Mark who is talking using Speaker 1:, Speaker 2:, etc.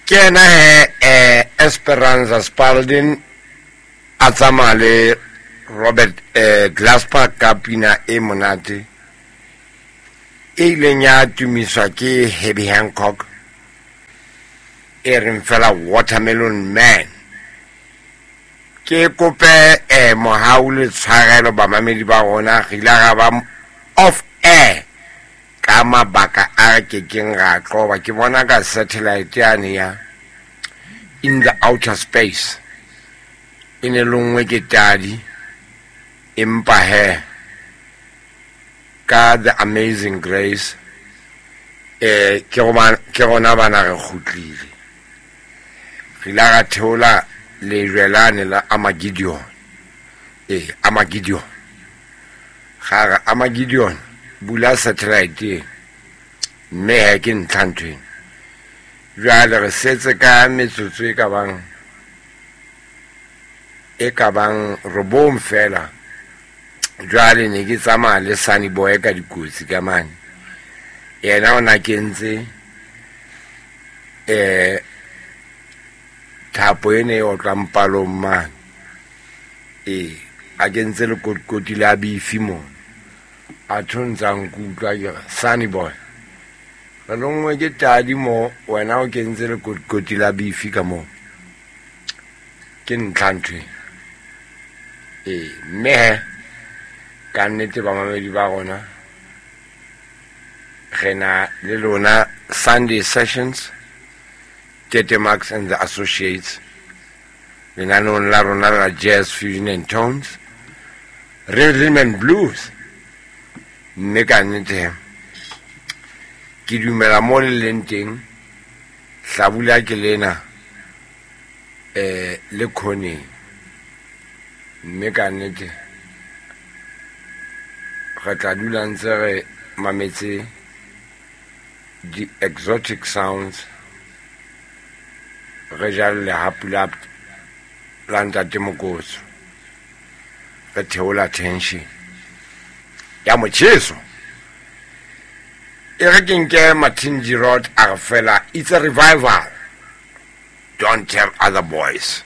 Speaker 1: Ke yena he Esperanza Spalding a tsamaya le Robert Glasper ka pina e monate e ileng ya tumiswa ke Herbie Hancock e reng fela Watermelon Man. Ke kope mohau le tshwarelo bamamedi ba rona, re ile ra ba off air ka mabaka a re ke keng ra qoba. Ke bona ka satellite yane ya in the outer space e ne lonngwe ke tadi, empa he ka the amazing grace ke rona bana re kgutlile. Re ile ra theola lejwe lane la Armageddon. Armageddon. Ga re Armageddon bula satellite e mme he ke ntlha ntho ena. Jwale re setse ka metsotso e ka bang e ka bang robong fela. Jwale ne ke tsamaya le Sunny Boy ka dikotsi ka mane. Yena o na kentse thapo ene e otlang palong mane. A kentse lekotikoti la bifi mona. A thontsa nkutlwa ke re, Sunny Boy, re lonngwe ke tadi mo, wena o kentse lekotikoti la bifi ka moo. Ke ntlha ntho e. Mme he, ka nnete bamamedi ba rona, re na le lona Sunday Sessions, Tete Max and the Associates, lenaneong la rona la Jazz Fusion and Tones, Rhythm and Blues. Mme ka nnete ke dumela mo le leng teng, hlabula ke lena le khoneng. Mme ka nnete re tla dula ntse re mametse di exotic sounds, re ja lehapu la ntate Mokotso, re theola tension ya motjheso. E re ke nke Martin Girod a re fela, it's a revival, don't tell other boys.